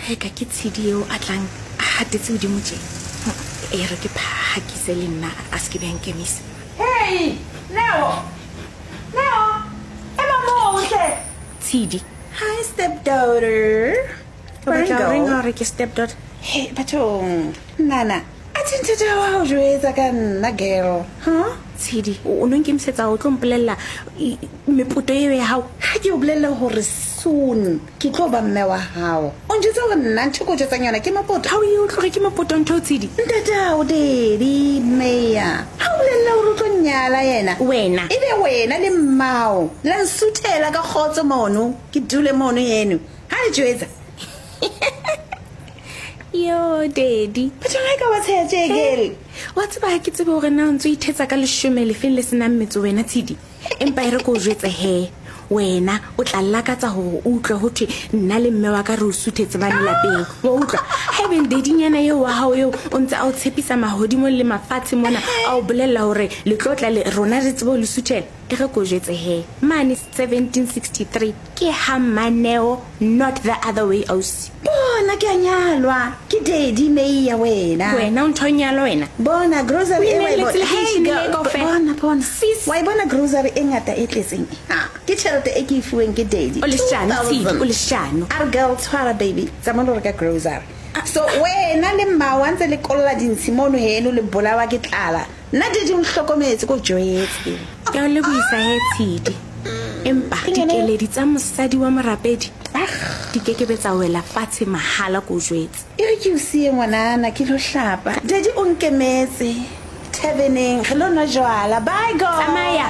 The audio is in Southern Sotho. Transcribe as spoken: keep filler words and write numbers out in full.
Ge ka ke tshedi eo a tlang a hatetse godimo tje. E re ke phakise le nna a se ke be a nkemisa. Hey, Neo! Neo! Ema moo hle! Tshedi. Hi, stepdaughter. O batla ho reng ha o re ke stepdaughter? Hey, bathong. Nana, a thi nthata wa ho jwetsa ka nna, girl. Huh? Tshedi, o no nkemisetsa o tlo mpolella mepoto eo ya hao? Ha ke o bolelle hore soon ke tlo ba mme wa hao. O njwetsa hore nna ntho e ke o jwetsang yona ke mapoto. Ha o ye o tloge ke mapoto ntho Tshedi? Ntatao, daddy, Meya. Ha o bolella hore o tlo nyala yena. Wena. Ebe wena le mmao la nsuthela ka kgotso mono, ke dule mono heno. Ha le jwetsa. Yo, daddy. Bathong ha e ka wa tsheha tje, girl. Wa tseba ha ke tsebe hore na o ntso ithetsa ka leshome lefeng le senang metso wena Tshedi. Empa e re ko o jwetse he. Wena o tla lakatsa hore o utlwe ho thwe nna le mme wa ka re o suthetse mane lapeng. Wa utlwa? Haebeng daddy-nyana eo wa hao eo o ntse a o tshepisa mahodimo le mafatshe mona, a o bolella hore le tlo tla le rona re tsebe ho le suthela. E re ko jwetse he. Mane seventeen sixty-three ke ha Maneo, not the other way ausi. Bona ke a nyalwa ke daddy Meya wena. Wena o ntho nyalwa wena. Bona grocery e wa e bona. Hey, girl, bona bona. Sis. Wa e bona grocery e ngata e tletseng. Ha, ke tjhelete e ke e fuweng ke daddy. O leshano, Tshedi, o leshano. A re girl tshwara baby, tsamaya lo reka grocery. So wena le mma wa ntse le kolla dintshi mono heno le bolawa ke tlala. Nna daddy o nhlokometse ko jwetse. Ke o lebohisa he Tshedi. Empa dikeledi tsa mosadi wa morapedi di kekebe tsa wela fatshe mahala ko jwetse. E re ke o siye ngwanana ke lo hlapa. Daddy o nkemetse taverneng re lo nwa jwala. Bye girl. Tsamaya.